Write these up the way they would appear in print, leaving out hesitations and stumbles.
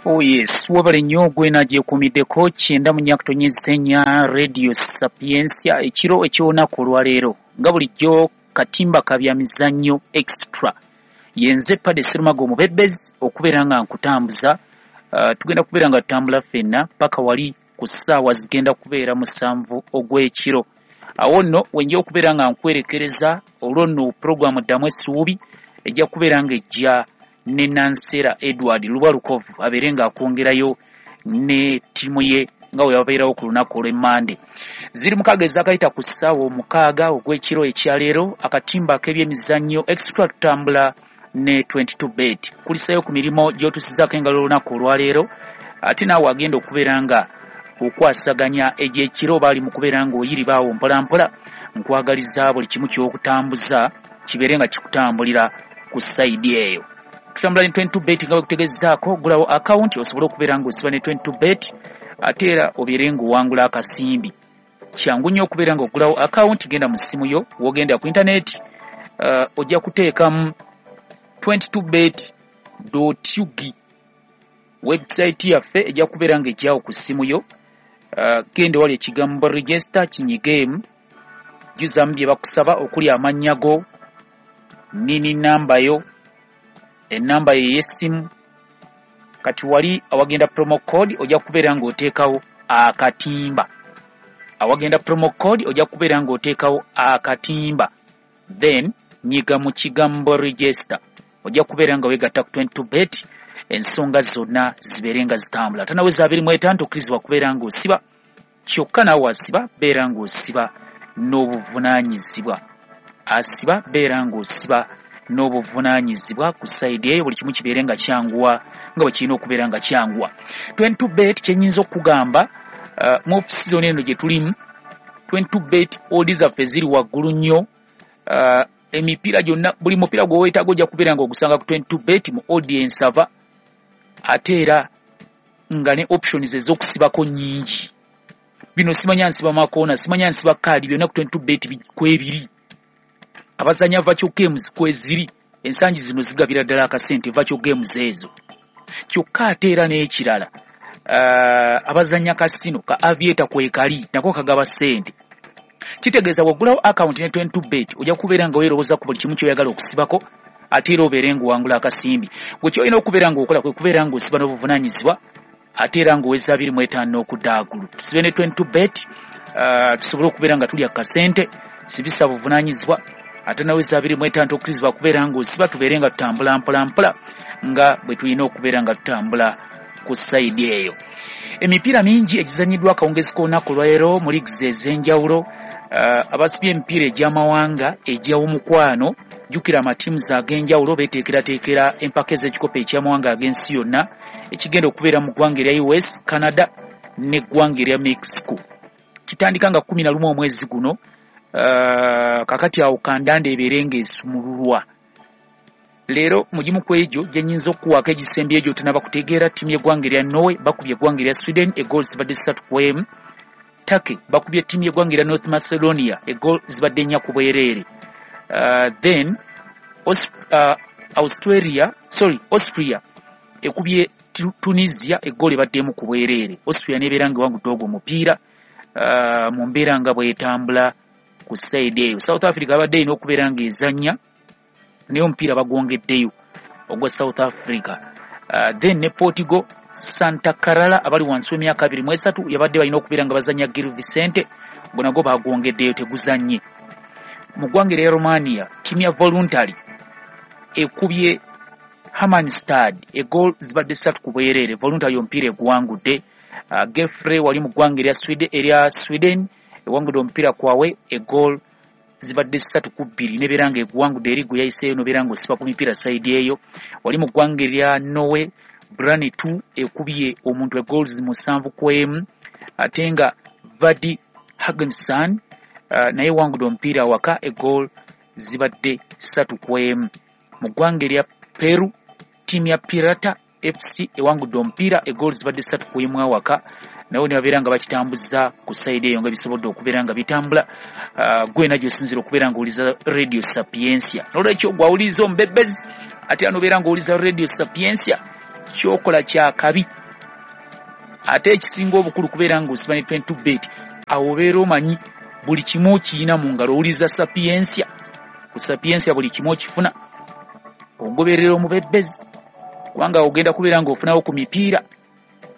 Oh yes, webale nnyo gwena gyekuumiddeko 94.4 Radio Sapientia ekiro eky'olunaku olwaleero. Nga bulijjo katimba ka bya mizannyo extra. Yenze Padde Sserumaga omubebbezi okubeera nga nkutambuza. Tugenda kubeera nga tutambula ffenna paka wali ku ssaawa zigenda kubeera 7 ogw'ekiro. Awo nno wenja okubeera nga nkwerekereza olwo nno pulogulaamu Ddamu Essuubi ejja kubeera ng'ejja ne Nansera Edward Lubalukovu abeere ng'akwongerayo ne ttiimu ye nga bwe babeerawo ku lunaku olw'Emmande. Ziri 6 ezaakayita ku ssaawa 6 ogw'ekiro ekyaleero, akatimba ak'ebyemizannyo extra tutambula ne 22 bet. Kulisayo ku mirimu gy'otuusizaako engalo olunaku olwaleero, ate naawe agenda okubeera nga okwasaganya egy'ekiro baali mu kubeera ng'oyiribaawo mpolampola. Nkwagaliza buli kimu ky'okutambuza kibeere nga kikutambulira ku sayidi eyo. Tutambula ne 22 bet nga bwekutegezaako, gulawo akawunti osobole okubeera ng'osiba ne 22 bet ate era obeere ng'owangula akasimbi. Kyangu nnyo okubeera ng'ogulawo akawunti, genda mu ssimu yo, w'ogenda ku intaneti, ojja kuteekamu 22bet.ug. Website yaffe ejja kubeera ng'ejjawo ku ssimu yo. Genda wali ekigambo register kinyigeemu, jjuzaamu bye bakusaba okuli amannya go, nini namba yo, ennamba yo ey'essimu. Kati wali awagenda promo code ojja kubeera ng'oteekawo akatimba. Awagenda promo code ojja kubeera ng'oteekawo akatimba, then nyiga mu kigambo register, ojja kubeera nga weegatta ku 22 bet, ensonga zonna zibeere nga zitambula. Ate naweza 25 tokkirizibwa kubeera ng'osiba, kyokka naawe asiba beera ng'osiba n'obuvunaanyizibwa. Asiba beera ng'osiba n'obuvunaanyizibwa ku sayidi eyo, buli kimu kibeere nga kyanguwa nga bwe kirina okubeera nga kyanguwa. 22 bet kye nnyinza okukugamba, mu off-season eno gye tulimu, 22 bet odds zaffe ziri waggulu nnyo. Emipiira gyonna, buli mupiira gwe weetaaga ojja kubeera ng'ogusanga ku 22 bet mu audience ava, ate era nga ne options ez'okusibako nnyingi. Bino simanya nsiba makoona, simanya nsiba kaadi, byonna ku 22 bet kwebiri. Abazannya virtual games kweziri, ensangi zino zigabira ddala akasente virtual games ezo. Kyokka ate era n'ekirala, abazannya kasino ka aviator kwekali nako kagaba ssente. Kitegeeza bw'oggulawo akawunti ne 22 bet ojja kubeera nga weerowooza ku buli kimu ky'oyagala okusibako, ate era obeere ng'owangula akasimbi. Gwe ky'olina okubeera ng'okola kwe kubeera ng'osiba n'obuvunaanyizibwa, ate era ng'oweza 25 n'okudda waggulu. Tusibe ne 22 bet, tusobole okubeera nga tulya kasente, sibisa buvunaanyizibwa, ate naweza 25 tokkirizibwa kubeera ng'osiba, tubeere nga tutambula mpola mpola nga bwe tulina okubeera nga tutambula ku sayidi eyo. Emipiira mingi egizannyiddwa akawungezi k'olunaku olwaleero mu leagues ez'enjawulo. Abasibye emipiira egy'amawanga egy'omukwano, jjukira amatiimu ag'enjawulo beeteekerateekera empaka ez'ekikopo eky'amawanga ag'ensi yonna ekigenda okubeera mu ggwanga erya US, Canada n'eggwanga erya Mexico. Kitandika nga 11 omwezi guno. Kakati awo kandanda ebeere ng'esumululwa. Leero mu gimu ku egyo gye nnyinza okukuwaako egisembyeyo gy'otanaba kutegeera, ttiimu y'eggwanga erya Norway bakubye eggwanga erya Sweden eggoolo zibadde 3-1. Turkey bakubye ttiimu y'eggwanga erya North Macedonia eggoolo zibadde 4-2. Then Austria ekubye Tunisia eggoolo ebadde 1-0. Austria n'ebeera ng'ewangudde ogwo omupiira mu mbeera nga bw'etambula ku sayidi eyo. South Africa abadde erina okubeera ng'ezannya naye omupiira bagwongeddeyo ogwa South Africa. Then ne Portugal, Santa Clara abali wansi w'emyaka 23 yabadde balina okubeera nga bazannya Gil Vicente, gwe nagwo bagwongeddeyo teguzannye. Mu ggwanga erya Romania, ttiimu ya Voluntary ekubye Hermannstad eggoolo zibadde 3-0. Voluntary omupiira eguwangudde. Gefre wali mu ggwanga erya Sweden ewangudde omupiira kwawe eggoolo zibadde 3-2, nebeera ng'eguwangudde eri gwe yayiseeyo nobeera ng'osiba ku mipiira sayidi eyo. Wali mu ggwanga erya Norway, Brani 2 ekubye omuntu eggoolo 7-1, ate nga Vadi Hagensan naye ewangudde omupiira awaka eggoolo zibadde 3-1. Mu ggwanga erya Peru, ttiimu ya Pirata FC ewangudde omupiira eggoolo zibadde 3-1 awaka, nabo ne babeera nga bakitambuza ku sayidi eyo nga bisobodde okubeera nga bitambula. Gwena gy'osinziira okubeera ng'owuliza Radio Sapientia. N'olwekyo gw'awuliriza omubebbezi, ate era n'obeera ng'owuliza Radio Sapientia, Kyokola kyakabi. Ate ekisinga obukulu kubeera ng'osiba ne 22 bet, awo obeera omanyi buli kimu okiyina mu ngalo. Owuliza Sapiensia, ku Sapiensia buli kimu okifuna, ogoberera omubebbezi kubanga ogenda kubeera ng'ofunawo ku mipiira.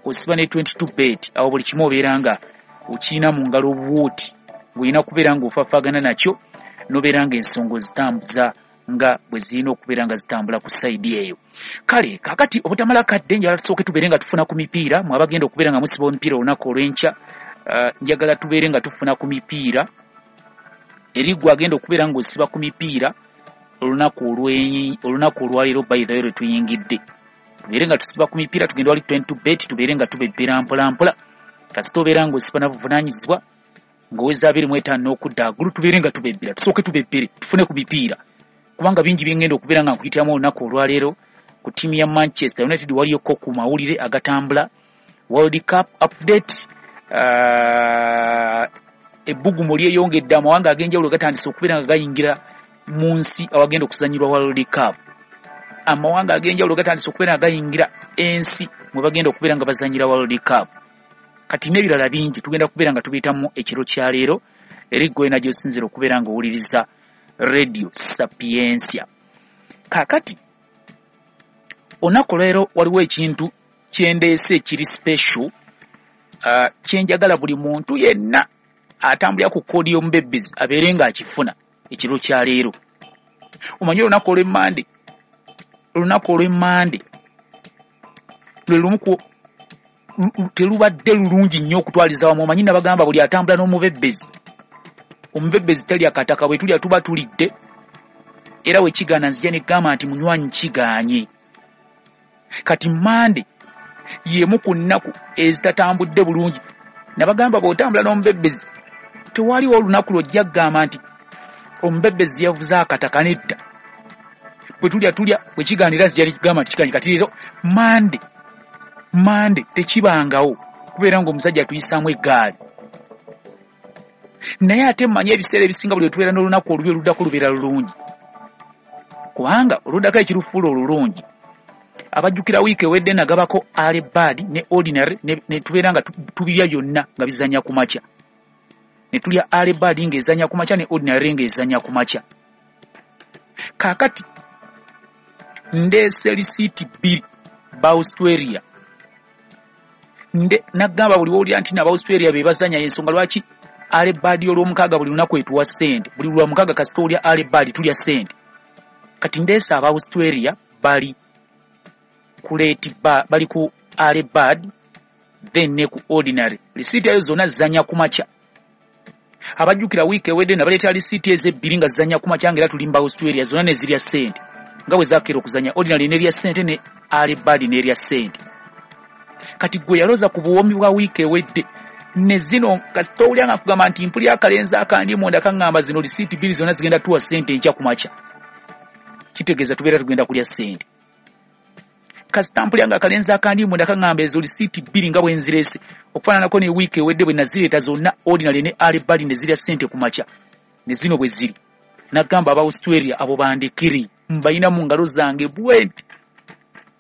Osiba ne 22 bet, awo buli kimu obeera nga okiyina mu ngalo obuwuuti, ng'olina kubeera ng'ofafaagana nakyo n'obeera ng'ensonga ozitambuza nga bwe zirina okubeera nga zitambula ku sayidi eyo. Kale kaakati obutamala kadde, njagala tusooke tubeere nga tufuna ku mipiira. Mwe abagenda okubeera nga musiba omupiira olunaku olw'enkya, njagala tubeere nga tufuna ku mipiira. Eri gwe agenda okubeera ng'osiba ku mipiira olunaku olwaleero, by the way lwe tuyingidde, tubeere nga tusiba ku mipiira. Tugende wali 22 bet, tubeere nga tubebbera mpola mpola. Kasita obeera ng'osiba na buvunaanyizibwa ng'oweza 25 n'okudda agulu, tubeere nga tubebbera. Tusooke tubebbere tufune ku mipiira, kubanga bingi byengenda okubeera nga nkuyitiramu olunaku olwaleero. Ku ttiimu ya Manchester United waliyoko ku mawulire agatambula, World Cup update, ebbugumu lyeyongedde, amawanga ag'enjawulo gatandise okubeera nga gayingira mu nsi awagenda okuzannyirwa World Cup. Amawanga ag'enjawulo gatandise okubeera nga gayingira ensi mwe bagenda okubeera nga bazannyira World Cup. Kati n'ebirala bingi tugenda kubeera nga tubiyitamu ekiro kya leero. Eri ggwe wena gy'osinziira okubeera ng'owuliriza Radio Sapiensia. Kaakati olunaku olwaleero waliwo ekintu kyendeese ekiri special, kyenjagala buli muntu yenna atambulira ku koodi y'omubebbezi abeere ng'akifuna ekiro kya leero. Omanyi olunaku olw'emmande, olunaku olw'emmande lwe lumu ku telubadde lulungi nnyo okutwaliza wamu. Omanyi nabagamba buli atambula n'omubebbezi, omubebbezi talya kataka, bwe tulya tuba tulidde. Era we kigaana nzija ne ggamba nti munywanyi kigaanye. Kati Mmande y'emu ku nnaku ezitatambudde bulungi. Nabagamba bw'otambula n'omubebbezi tewaliwo olunaku lw'ojja kugamba nti omubebbezi yavuze akataka, nedda. Bwe tulya tulya, bwe kigaana era nzija ne kugamba nti kigaanye. Kati leero Mmande tekibangawo kubeera ng'omusajja atuyisaamu eggaali. Naye ate mmanyi ebiseera ebisinga buli lwe tubeera n'olunaku olubi oluddako lubeera lulungi, kubanga oluddako ekirufuula olulungi. Abajjukira wiiki ewedde nagabako early bird ne ordinary, ne tubeera nga tubirya byonna nga bizannya ku makya. Ne tulya early bird ng'ezannya ku makya ne ordinary ng'ezannya ku makya. Kaakati ndeese lisiiti bbiri ba Australia. Nagamba buli w'owulira nti n'aba Australia be bazannya, y'ensonga lwaki early bird olw'omukaaga buli lunaku etuwa ssente. Buli lwamukaaga kasita olya early bird tulya ssente. Kati ndeese aba Australia bali ku late bali ku early bird then ne ku ordinary. Lisiiti ezo zonna zizannya ku makya. Abajjukira wiiki ewedde nabaleetera lisiiti ezo ebbiri nga zizannya ku makya, ng'era tuli mu ba Australia, zonna ne zirya ssente nga bwe zakeera okuzannya. Ordinary n'erya ssente ne early bird n'erya ssente. Kati gwe yaloza ku buwoomi bwa wiiki ewedde ne zino, kasita owulira nga nkugamba nti mpulira akalenzi akandi munda kaŋŋamba zino lisiiti bbiri zonna zigenda tuwa ssente enkya ku makya, kitegeeza tubeera tugenda kulya ssente. Kasita mpulira nga akalenzi akandi munda kaŋŋamba ezo lisiiti bbiri nga bwe nzireese, okufaananako ne wiiki ewedde bwe nazireeta zonna ordinary ne early bird ne zirya ssente ku makya, ne zino bwe ziri. Nagamba aba Australia abo bandekere, mbayina mu ngalo zange bwenti.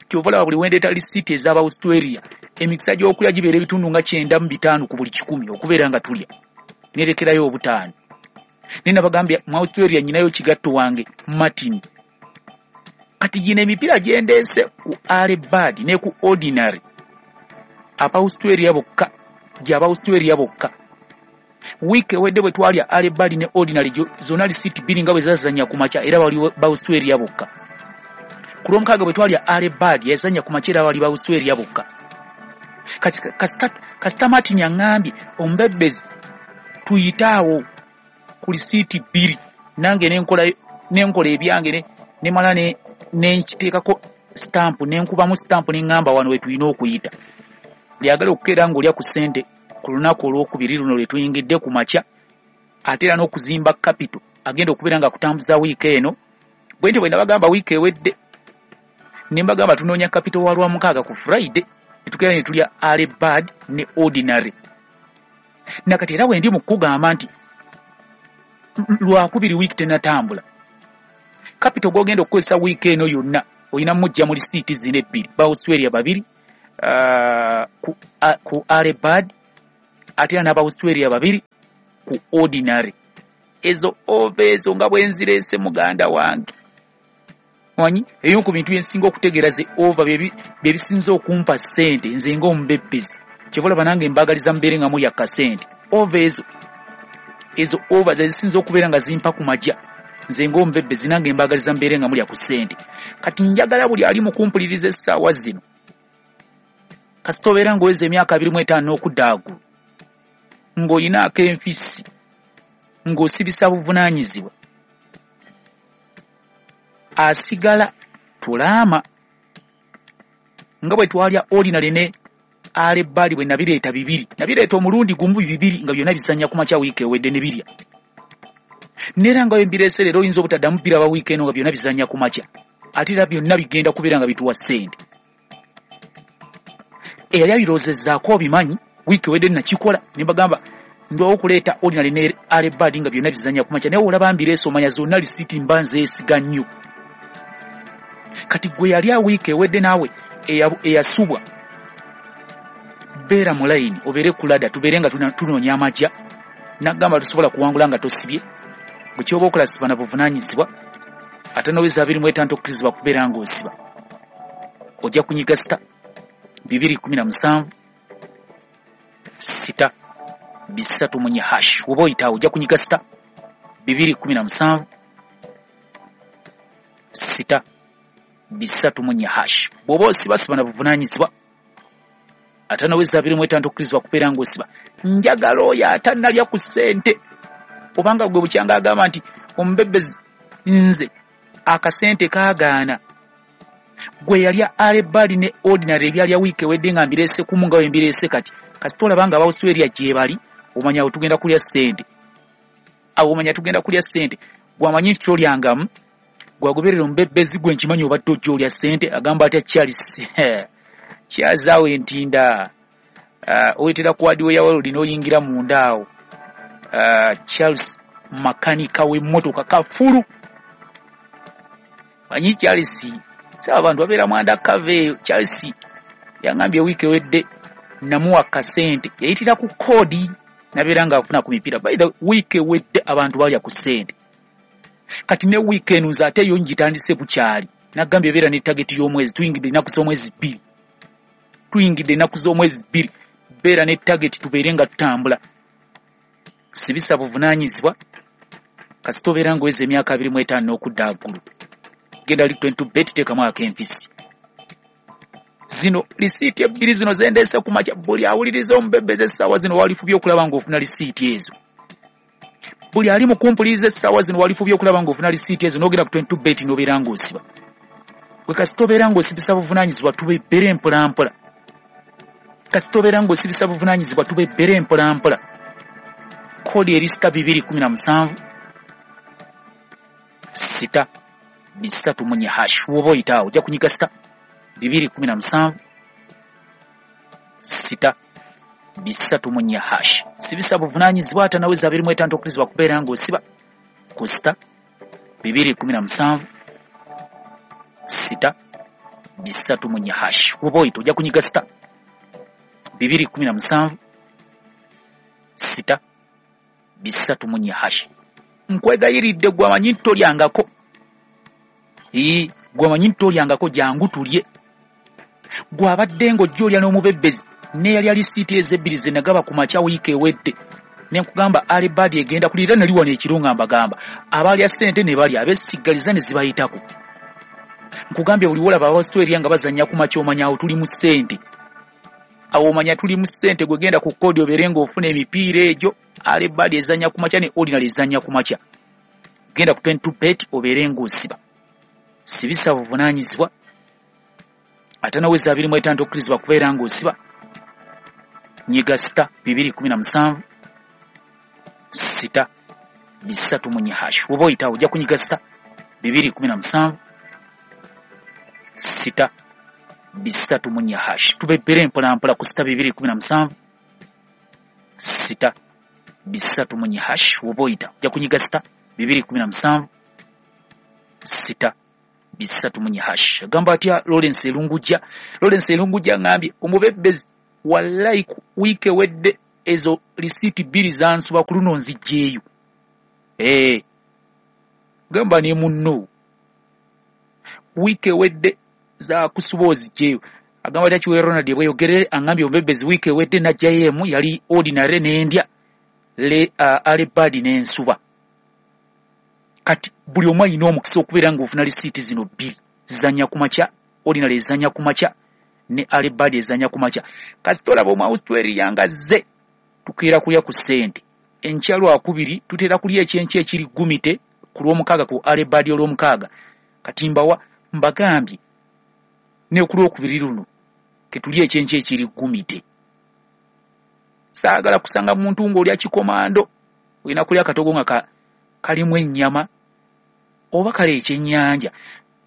Kyova olaba buli wendeeta lisiiti ez'aba Australia emikisa gy'okulya gibeera ebitundu nga 95 ku buli 100 okubeera nga tulya, nerekerayo 5. Naye nabagambye mu Australia nnyinayo kigatto wange Martin. Kati gino emipiira gye ndeese ku early bird ne ku ordinary aba Australia bokka, gy'aba Australia bokka. Wiiki ewedde bwe twalya early bird ne ordinary zonna lisiiti bbiri nga bwe zazannya ku makya, era bali ba Australia bokka. Ku lwomukaaga bwe twalya early bird yazannya ku makya, era bali ba Australia bokka. Kati kasita Martin aŋŋambye omubebbezi tuyite awo ku lisiiti bbiri, nange nenkola ebyange nemala nenkiteekako stamp, nenkubamu stamp ne ŋŋamba wano we tulina okuyita. Lyagala okukeera ng'olya ku ssente ku lunaku olwokubiri luno lwe tuyingidde ku makya, ate era n'okuzimba capital agenda okubeera nga kutambuza wiiki eno. Bwe ntyo bwe nabagamba wiiki ewedde, ne mbagamba tunoonya capital wa Lwamukaaga ku Friday, ne tukeera ne tulya early bird ne ordinary. Nakati era bwe ndi mu kukugamba nti Lwakubiri wiiki tennatambula, capital gw'ogenda okukozesa wiiki eno yonna Olina mujja mu lisiiti zino ebbiri, ba Australia babiri ku early bird, ate era n'aba Australia babiri ku ordinary. Ezo over ezo nga bwe nzireese muganda wange, omanyi eyo ku bintu byensinga okutegeera ze over bye bisinze okumpa ssente nze ng'omubebbezi. Kyova olaba nange mbaagaliza mubeere nga mulya kasente. Over ezo, ezo over ze zisinze okubeera nga zimpa ku majja nze ng'omubebbezi, nange mbaagaliza mubeere nga mulya ku ssente. Kati njagala buli ali mu kumpuliriza essaawa zino, kasita obeera ng'oweza emyaka 25 n'okudda waggulu, ng'olina ak'enfisi, ng'osibisa buvunaanyizibwa, asigala tulaama nga bwe twalya ordinary ne early bird. Bwe nabireeta bibiri, nabireeta omulundi gumu bibiri nga byonna bizannya ku makya wiiki ewedde ne birya, neera nga bwe mbireese leero oyinza obutaddamu biraba wiiki eno nga byonna bizannya ku makya, ate era byonna bigenda kubeera nga bituwa ssente. Eyali abirowoozezzaako obimanyi, wiiki ewedde nakikola ne mbagamba ndwawo okuleeta ordinary ne early bird nga byonna bizannya ku makya, naye olaba mbireese omanya zonna lisiiti mba nzeesiga nnyo. Kati gwe yali wiiki ewedde naawe eyasubwa, beera mu layini obeere ku ladder, tubeere nga tunoonya amagya. Nagamba tusobola kuwangula nga tosibye. Gwe kyoba okola siba na buvunaanyizibwa, ate noweza 25 okkirizibwa kubeera ng'osiba. Ojja kunyiga sita 217 sita 3 4 hash. Oba oyitaawo ojja kunyiga sita 217 sita 3 4 hash. Bw'oba osiba, siba na buvunaanyizibwa, ate noweza 25 okkirizibwa kubeera ng'osiba. Njagala oyo atannalya ku ssente, obanga gwe bukyanga agamba nti omubebbezi nze akasente kaagaana, gwe yalya early bird ne ordinary ebyalya wiiki ewedde nga mbireese kumu nga bwe mbireese kati, kasita olaba nga aba Australia gye bali, omanya awo tugenda kulya ssente, awo omanya tugenda kulya ssente. Gwamanyi nti tolyangamu, gwagoberera omubebbezi gwe nkimanyi obadde ojja olya ssente. Agamba atya Charles kyazaawo entinda, oyitira ku hardware world n'oyingira munda awo. Charles makanika w'emmotoka kafulu, manyi Charles saba abantu babeera mu undercover eyo. Charles yangambye wiiki ewedde namuwa kasente, yayitira ku koodi nabeera ng'afuna ku mipiira. By the wiiki ewedde abantu balya ku ssente, kati ne wiiki eno nze ate yo ngitandise bukyali. Nagambye beera ne target y'omwezi, tuyingidde ennaku z'omwezi 2, tuyingidde ennaku z'omwezi 2, beera ne target tubeere nga tutambula. Sibisa buvunaanyizibwa, kasita obeera ng'oweza emyaka 25 n'okudda waggulu, genda li 22 bet, teekamu ak'empisi. Zino lisiiti ebbiri zino zendeese ku makya, buli awuliriza omubebbezi essaawa zino walifubye okulaba ng'ofuna lisiiti ezo. Buli ali mu kumpuliriza essaawa zino walifubye okulaba ng'ofuna lisiiti ezo, n'ogenda ku 22 bet n'obeera ng'osiba. Gwe kasita obeera ng'osibisa buvunaanyizibwa, tubebbere mpolampola. Kasita obeera ng'osibisa buvunaanyizibwa, tubebbere mpolampola. Koodi eri sita 217 sita 3 4 hash. Woba oyitaawo ojja kunyiga sita 217 sita 3 4 hash. Sibisa buvunaanyizibwa, ate naweza 25 okkirizibwa kubeera ng'osiba ku sita 217 sita 3 4 hash. Woba oyita ojja kunyiga sita 217 sita 3 4 hash. Nkwegayiridde gwe amanyi nti tolyangako, ii gwe amanyi nti tolyangako, jangu tulye. Gwe abadde ng'ojja olya n'omubebbezi neyalya lisiiti ezebbiri ze nagaba ku makya wiiki ewedde, ne nkugamba early bird egenda kulira nali wano ekiro nga mbagamba abalya ssente ne balya, abeesigaliza ne zibayitako. Nkugambye buli wolaba Abaustralia nga bazannya ku makya, omanya awo tuli mu ssente, awo omanya tuli mu ssente. Gwe genda ku koodi obeere ng'ofuna emipiira egyo, early bird ezannya ku makya ne ordinary ezannya ku makya. Genda ku 22 bet obeere ng'osiba. Sibisa buvunaanyizibwa, ate naweza 25 okkirizibwa kubeera ng'osiba. Nyiga sita 217 sita 3 4 hash. Woba oyitawo ojja kunyiga sita 217 sita 3 4 hash. Tubebbere mpolampola ku sita 217 sita 3 4 hash. Woba oyita ojja kunyiga sita 217 sita 3 4 hash. Agamba atya Lawrence Elungujja? Lawrence Elungujja ngambye omubebbezi, wallahi wiiki ewedde ezo lisiiti 2 zansuba, ku luno nzijjeeyo. Gamba ne munno wiiki ewedde zakusuba, ozijjeeyo. Agamba atya Kiwe Ronald bweyogerere? Angambye omubebbezi, wiiki ewedde najjayo emu yali ordinary n'endya le early bird n'ensuba. Kati buli omu alina omukisa okubeera ng'ofuna lisiiti zino 2 zizannya ku makya. Ordinary ezannya ku makya ne early bird ezannya ku makya. Kasita olaba omu Australia nga zze, tukeera kulya ku ssente. Enkya Lwakubiri tutera kulya ekyenkya ekiri gumite ku Lwomukaaga, ku early bird Olwomukaaga. Kati mbawa mbagambye ne ku Lwokubiri luno ketulya ekyenkya ekiri gumite. Saagala kusanga muntu ng'olya kikomando. Olina kulya akatogo nga kalimu ennyama oba kale ekyennyanja,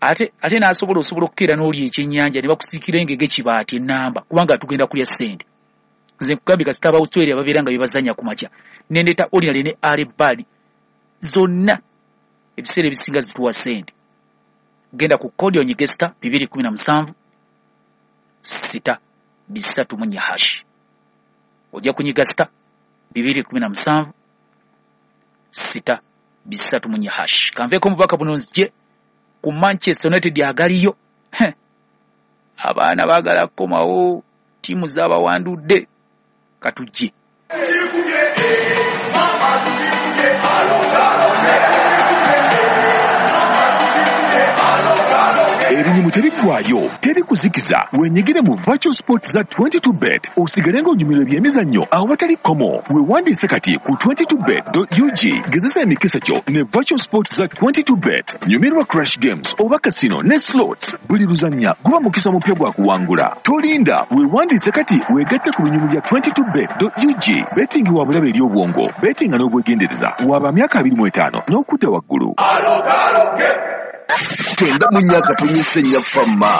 ate n'asobola osobola okukeera n'olya ekyennyanja ne bakusiikira engege kibaati ennamba, kubanga tugenda kulya ssente. Nze nkugambye, kasita aba Australia babeera nga bebazannya ku makya, nendeeta ordinary ne early bird, zonna ebiseera ebisinga zituwa ssente. Genda ku kodi onyige star 217 star 34 hash. Ojja kunyiga star 217 star 34 hash. Kanveeko omubaka buno, nzije ku Manchester United agaliyo. Abaana baagala kukomawo, ttiimu zaabawandudde. Katujje. Ebinyumu tebiggwayo, teri kuzikiza. Wenyigire mu virtual sport za 22 Bet, osigale ng'onyumirwa ebyemizannyo awatali kkomo. Weewandiise kati ku 22bet.ug. Gezesa emikisa gyo ne virtual sport za 22 Bet. Nyumirwa crash games oba casino ne slots. Buli luzannya guba mukisa mupya gwa kuwangula. Tolinda, weewandiise kati, weegatte ku binyumu bya 22bet.ug. Betting wa bulabe eri obwongo. Bettinga n'obwegendereza. Waba myaka 25 n'okudda waggulu. 94.4 famma.